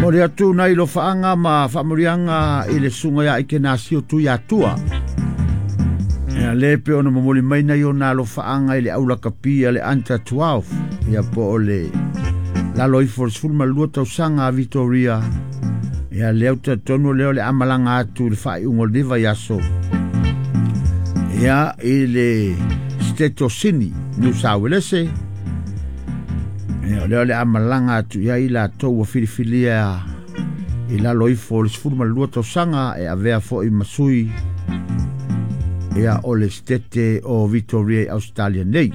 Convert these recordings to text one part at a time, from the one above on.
Mo le atu nai lofaaga ma faamanuiaga i le susuga ia Ikenasio Tuiatua. Ia le pe ona momoli mai nai ona alofaaga i le aulakapi a le Under 12, ia po o le lalo ifo o le 12 tausaga a Vitoria. Ia lea talitonu lea o le amalaga atu i le faaiuga o lenei vaiaso. Ia i le State o Sini, New South Wales. Ia o lea o le amalaga atu i ai latou ua filifilia i lalo ifo o le 12 tausaga e avea foi ma sui ia o le State o Victoria i Australia nei.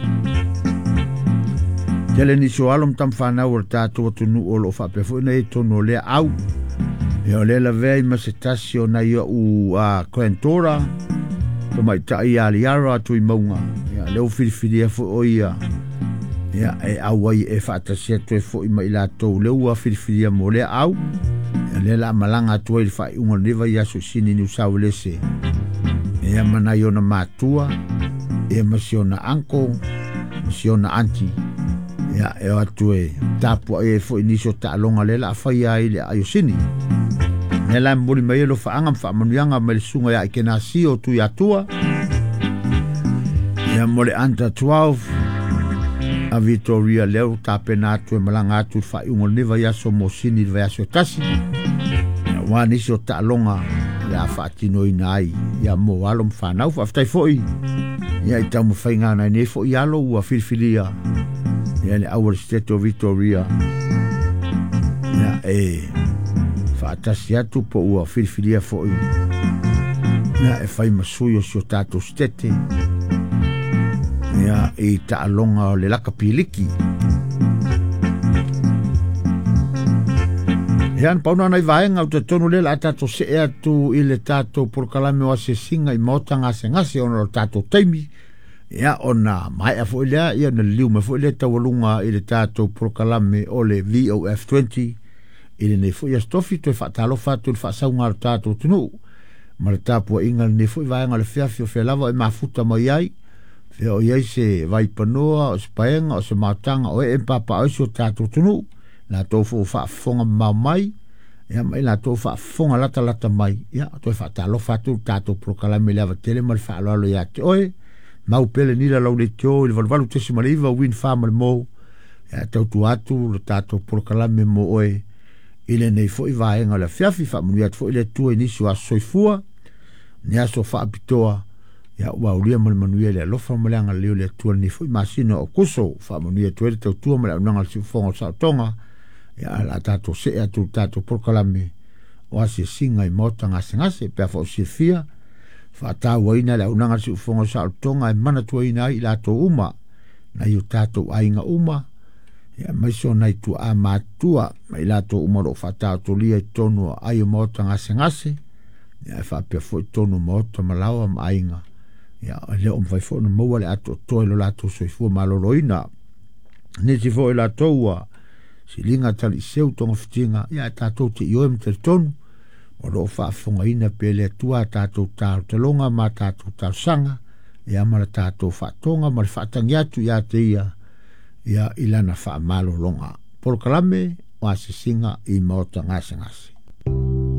Tele nisi o alo ma tamafanau o le tatou atunuu o loo faapea foi ona i ai totonu o lea au. Ia o lea lavea i ma se tasi o nai o'u granddaughter, tamaitai ia Liara Tuimauga. Ia lea ua filifilia foi o ia ia e auai e faatasi atu ai foi ma i latou lea ua filifilia mo lea au. Ia lea la malaga atu ai i le faaiuga o lenei vaiaso i Sini Niu Sauelese. Ia ma nai ona matua, ia ma si ona uncle, ma si ona auntie. Ia e o atu e tapuai ai foi nisi o taaloga lea la faia ai le aai o Sini. Lea la e momoli mai ai lofaaga ma faamanuiaga mai le susuga ia Ikenasio Tuiatua. Ia mo le Under 12 a Vitoria lea ua tapena atu e malaga atu i le faaiuga o lenei vaiaso mo Sini i le vaiaso e tasi. Ia aua nisi o taaloga le a faatinoina ai ia mo alo ma fanau. Faafetai foi ia i taumafaiga a nai nei foi alo ua filifilia ia le au o le State o Vitoria ia e faatasi atu po ua filifilia foi ia e fai ma sui o si o tatou State ia i taaloga o le lakapi liki. Ia na pau na nai vaega o talitonu lea o le a tatou see atu i le tatou polokalame o asiasiga i maota gasegase ona o le tatou taimi. Ia ona maea foi lea, ia ona liliu mai foi lea taualuga i le tatou polokalame o le VOF20 i lenei foi aso tofi. Toe faatalofa atu i le faasauga a le tatou atunuu ma le tapuaiga i lenei foi vaega o le fiafi o fea lava e mafuta mai ai. Fea o i ai se vaipanoa, o se paega, o se maotaga o ee ma papaaao ai si o tatou atunuu. Latou foi ua faafofoga mamao mai, ia ma i latou faafofoga latalata mai, ia toe faatalofa atu i le tatou polokalame i le ava tele ma le faaaloalo ia te oe. Mau pele nila lau leitio i le 88.9 Win Farm le mou, ia tautua atu le tatou polokalame mo oe i lenei foi vaega o le afiafi. Faamanuia atu foi le Atua i nisi o aso soifua, ni aso faapitoa, ia ua aulia ma le manuia i le alofa ma le agalelei o le Atua lenei foi masina o Aokuso. Faamanuia atu ai le tautua ma le auaunaga a le Siufofoga o le Saotoga. Ia la tatou see atu i le tatou polokalame o asiasiga i maota gasegase. Pe a foi o silafia, faatauaina le auaunaga a le Siufofoga o le Saolotoga e manatuaina ai i latou uma, nai o tatou aiga uma, ia aemaise o nai tuaa matutua ma i latou uma o lo o faataotolia i totonu o aai o maota gasegase, ia e faapea foi totonu o maota ma laoa ma aiga. Ia e le o mafai foi ona maua le atoatoa i lo latou soifua maloloina. Nisi foi latou ua siliga taliiseu togafitiga, ia e tatou te ioe ma talitonu o lo o faafofogaina pea le Atua a tatou talotaloga ma a tatou talosaga, ia ma le tatou faatoga ma le faatagi atu ia te ia, ia i lana faamalologa. Polokalame o asiasiga i maota gasegase.